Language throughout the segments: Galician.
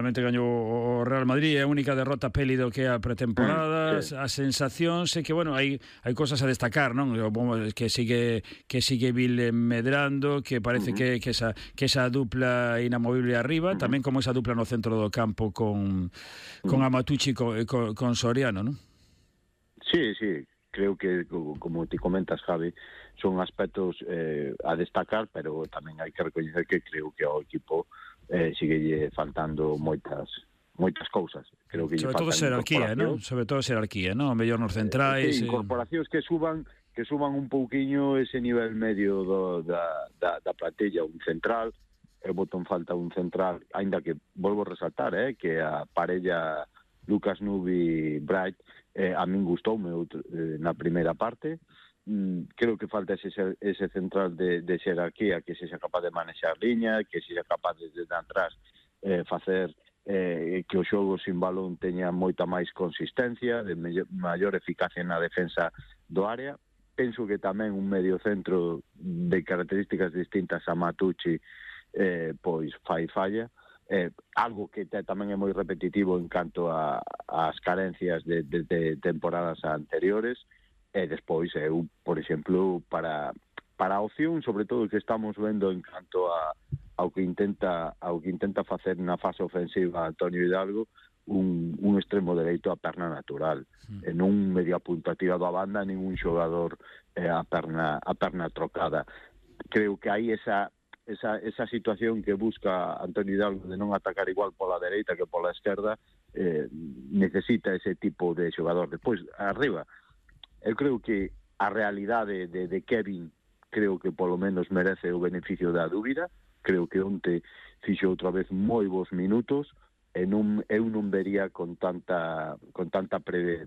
Realmente gañou o Real Madrid, é a única derrota peli do que é a pretemporada. Sí. As sensacións é que, bueno, hai cosas a destacar, non? Que sigue medrando, que parece que esa dupla inamovible arriba, tamén como esa dupla no centro do campo con Amatucci con Soriano, non? Sí, creo que, como te comentas, Javi, son aspectos a destacar, pero tamén hai que recoñecer que creo que ao equipo sigue faltando moitas cousas. Creo que sobre todo xerarquía, non? Sobre todo xerarquía, non? O mellor nos centrais. Incorporacións que suban un pouquiño ese nivel medio da plantilla, un central. Eu boto en falta un central, aínda que volvo a resaltar, que a parella Lucas Nubi Bright a min gustoume na primeira parte. Creo que falta ese central de xerarquía, que sexa capaz de manexar liña, que sexa capaz desde atrás facer que o xogo sin balón teña moita máis consistencia, de maior eficacia na defensa do área. Penso que tamén un medio centro de características distintas a Matucci pois falla. Algo que tamén é moi repetitivo en canto ás carencias de temporadas anteriores. E despois eu, por exemplo, para a opción, sobre todo, que estamos vendo en canto ao que intenta facer na fase ofensiva Antonio Hidalgo, un extremo dereito a perna natural, non media punta tirado a banda, ningún xogador a perna trocada. Creo que hai esa situación que busca Antonio Hidalgo de non atacar igual pola dereita que pola esquerda, necesita ese tipo de xogador. Despois, arriba, eu creo que a realidade de Kevin, creo que polo menos merece o beneficio da dúbida. Creo que onte fixo outra vez moi bons minutos, e eu non vería con tanta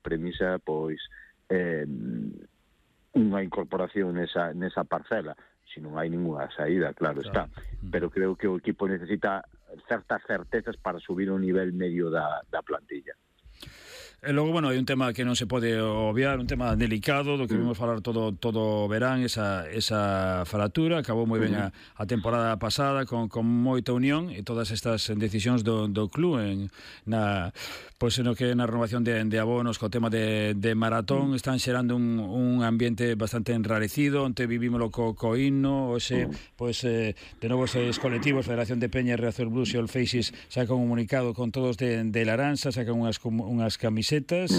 premisa pois unha incorporación nesa parcela, se non hai ninguna saída, claro está. Pero creo que o equipo necesita certas certezas para subir o nivel medio da plantilla. E logo, bueno, hai un tema que non se pode obviar, un tema delicado do que vimos falar todo o verán, esa fratura. Acabou moi ben a temporada pasada con moita unión, e todas estas decisións do club pois no que na renovación de abonos co tema de maratón están xerando un ambiente bastante enrarecido. Onte vivímoslo co himno, hoxe pois de novo os colectivos Federación de Peña, Reazor Blues e All Faces sacan un comunicado con todos de Laranxa, sacan unhas camisetas,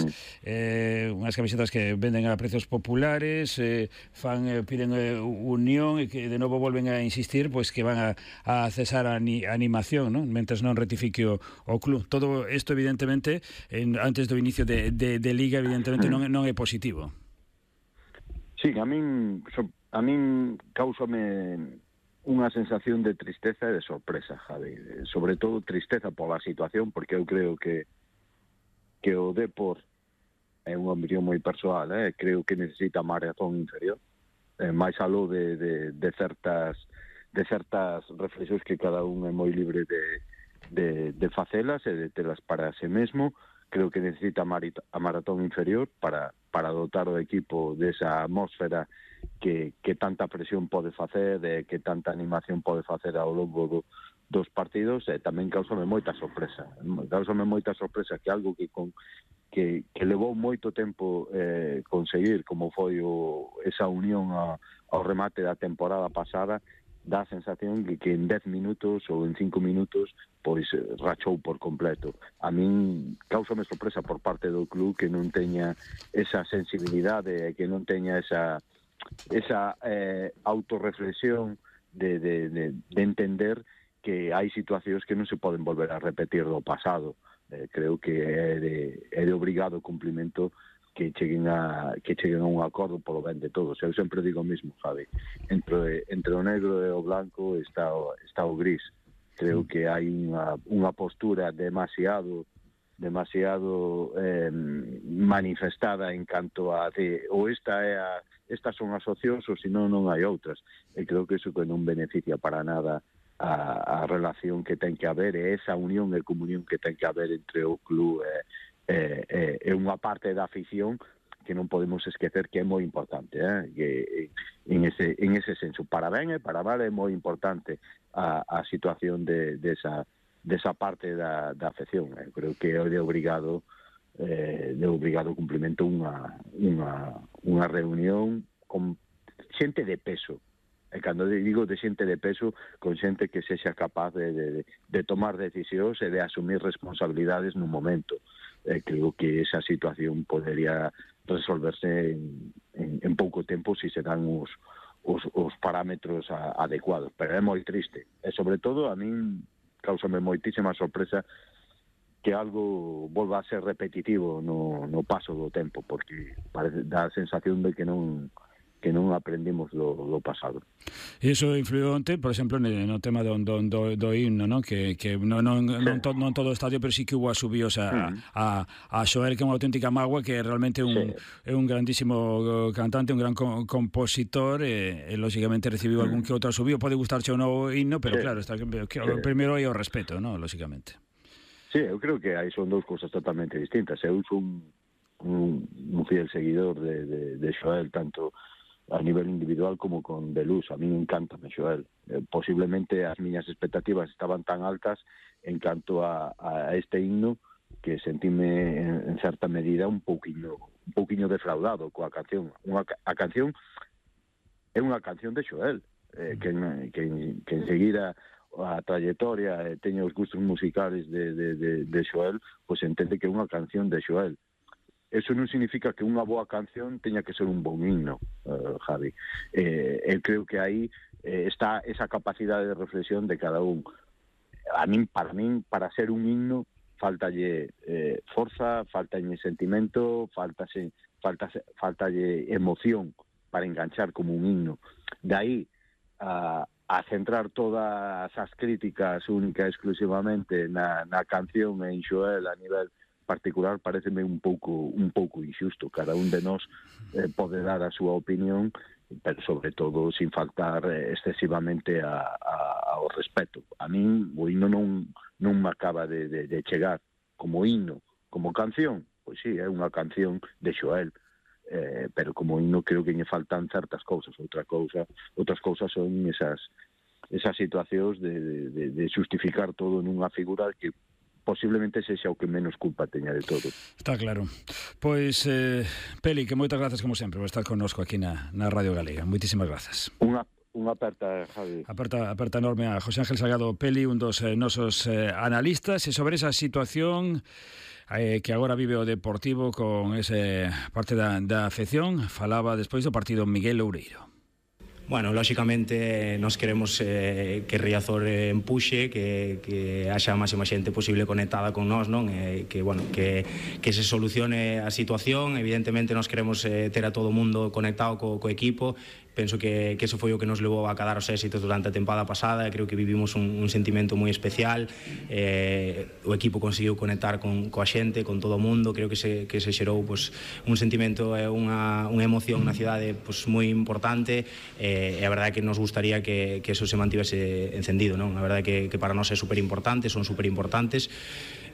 unhas camisetas que venden a precios populares, piden unión, e que de novo volven a insistir pois que van a cesar a animación, non? Mentres non rectifique o club. Todo isto, evidentemente, antes do inicio de Liga, evidentemente non é positivo. Sí, a min causame unha sensación de tristeza e de sorpresa, Javi. Sobre todo tristeza pola situación, porque eu creo que o Depor é unha opinión moi persoal, creo que necesita maratón inferior, máis aló de certas reflexións que cada un é moi libre de facelas e de telas para si mesmo. Creo que necesita a maratón inferior para dotar o equipo desa atmósfera que tanta presión pode facer, que tanta animación pode facer ao longo dos partidos. E tamén causame moita sorpresa que algo que levou moito tempo conseguir, como foi esa unión ao remate da temporada pasada, dá a sensación de que en 10 minutos ou en 5 minutos pois rachou por completo. A min causame sorpresa por parte do club que non teña esa sensibilidade, que non teña esa autorreflexión de entender que hai situacións que non se poden volver a repetir do pasado. Creo que é de obrigado cumplimento que cheguen a un acordo polo ben de todos. Eu sempre digo o mismo, Javi, entre o negro e o blanco está o gris. Creo que hai unha postura demasiado manifestada en canto a estas son as opcións, ou senón non hai outras. E creo que iso que non beneficia para nada a relación que ten que haber, e esa unión e comunión que ten que haber entre o club é unha parte da afición que non podemos esquecer que é moi importante, que en ese senso, para ben e para mal, é moi importante a situación de desa parte da afección. Eu creo que é de obrigado cumprimento unha reunión con xente de peso. E cando digo de xente de peso, con xente que sexa capaz de tomar decisións e de asumir responsabilidades nun momento. Creo que esa situación podería resolverse en pouco tempo se se dan os parámetros adecuados. Pero é moi triste. E, sobre todo, a min causame moitísima sorpresa que algo volva a ser repetitivo no paso do tempo, porque dá a sensación de que non aprendimos do pasado. E iso influiu onte, por exemplo, no tema do himno, ¿no? Que non todo o estadio, pero sí que hubo asubíos a Xoel, que é unha auténtica mágoa, que realmente é un grandísimo cantante, un gran compositor, e lógicamente recibiu algún que outro asubío. Pode gustarche o novo himno, pero claro, primeiro hai o respeto, ¿no? Lógicamente. Sí, eu creo que aí son dous cousas totalmente distintas. Eu son un fiel seguidor de Xoel, tanto a nivel individual como con De Luz. A mí encántame Xoel. Posiblemente as miñas expectativas estaban tan altas en canto a este himno que sentime en certa medida un pouquiño defraudado coa canción. A canción é unha canción de Xoel, que enseguida a trayectoria teña os gustos musicales de Xoel, pois entende que é unha canción de Xoel. Eso non significa que unha boa canción teña que ser un bon himno, Javi. Eu creo que aí está esa capacidade de reflexión de cada un. Para ser un himno, faltalle forza, faltalle sentimento, faltalle emoción para enganchar como un himno. De aí a centrar todas as críticas única e exclusivamente na canción en Xoel a nivel particular pareceme un pouco injusto. Cada un de nós pode dar a súa opinión, pero sobre todo sin faltar excesivamente ao respeto. A min o himno non me acaba de chegar como himno, como canción. Pois sí, é unha canción de Xoel, pero como himno creo que lle faltan certas cousas. Outras cousas son esas situacións de justificar todo nunha figura que posiblemente sexa o que menos culpa teña de todo. Está claro. Pois, Peli, que moitas grazas como sempre por estar connosco aquí na Radio Galega. Moitísimas grazas. Unha aperta, Javi. Aperta enorme a José Ángel Salgado Peli, un dos nosos analistas, e sobre esa situación que agora vive o Deportivo con ese parte da afección, falaba despois do partido Miguel Loureiro. Bueno, lóxicamente nos queremos que Riazor empuxe, que haxa a máxima xente posible conectada con nós, non? Que se solucione a situación. Evidentemente nos queremos ter a todo o mundo conectado co equipo. Penso que eso foi o que nos levou a cadar os éxitos durante a tempada pasada. Creo que vivimos un sentimento moi especial. O equipo conseguiu conectar coa xente, con todo o mundo. Creo que se xerou pues, un sentimento e unha emoción na cidade pues, moi importante, e a verdade é que nos gustaría que eso se mantivese encendido, non? A verdade é que para nós é superimportante, son superimportantes.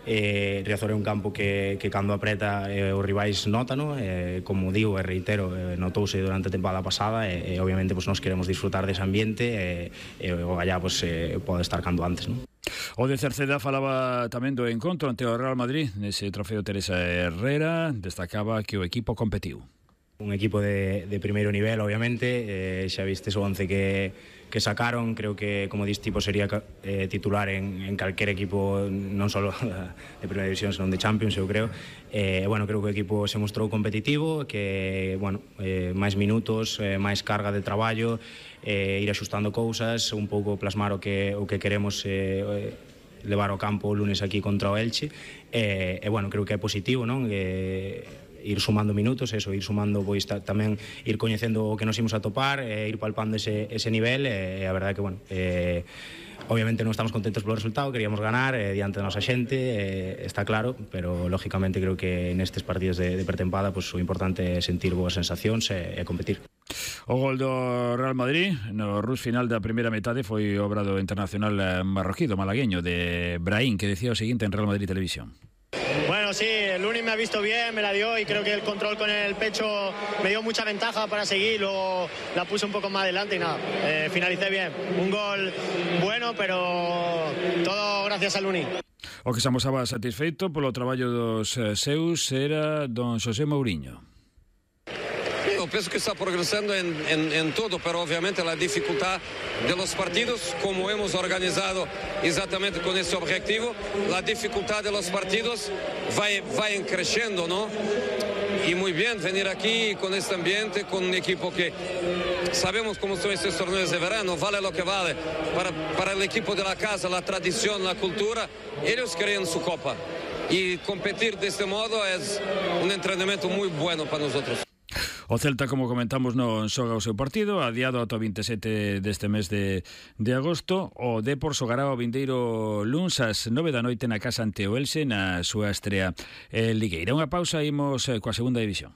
Riazor é un campo que cando apreta os rivais nótano, como digo e reitero, notouse durante a tempada pasada, e obviamente pues, nos queremos disfrutar dese ambiente, e o allá pues, pode estar cando antes, non? O de Cerceda falaba tamén do encontro ante o Real Madrid nese trofeo Teresa Herrera, destacaba que o equipo competiu. Un equipo de primeiro nivel, obviamente, xa vistes o 11 que sacaron. Creo que, como dis tipo, sería titular en calquer equipo, non só de primeira división, senón de Champions, eu creo. Bueno, creo que o equipo se mostrou competitivo, que, bueno, máis minutos, máis carga de traballo, ir axustando cousas, un pouco plasmar o que queremos levar ao campo o lunes aquí contra o Elche. Bueno, creo que é positivo, non? Ir sumando minutos, ir sumando, pois tamén ir coñecendo o que nos imos a topar, ir palpando ese nivel, e a verdade que, bueno, obviamente non estamos contentos polo resultado, queríamos ganar diante da nosa xente, está claro, pero lógicamente creo que nestes partidos de pretempada pues, o importante é sentir boas sensacións e competir. O gol do Real Madrid no rush final da primeira metade foi obra do internacional marroquí, do malagueño, de Brahim, que decía o seguinte en Real Madrid Televisión. Bueno, sí, el Luni me ha visto bien, me la dio y creo que el control con el pecho me dio mucha ventaja para seguir, luego la puse un poco más adelante y nada, finalicé bien. Un gol bueno, pero todo gracias al Luni. O que se amosaba satisfeito polo traballo dos seus era don José Mourinho. Yo pienso que está progresando en todo, pero obviamente la dificultad de los partidos, como hemos organizado exactamente con ese objetivo, la dificultad de los partidos va creciendo, ¿no? Y muy bien venir aquí con este ambiente, con un equipo que sabemos cómo son estos torneos de verano, vale lo que vale. Para el equipo de la casa, la tradición, la cultura, ellos creen su copa. Y competir de este modo es un entrenamiento muy bueno para nosotros. O Celta, como comentamos, non xoga o seu partido, adiado ata o 27 deste mes de agosto. O Depor xogará o vindeiro luns ás 9 da noite na casa ante o Elxe na súa estrea ligueira. Unha pausa, imos coa segunda división.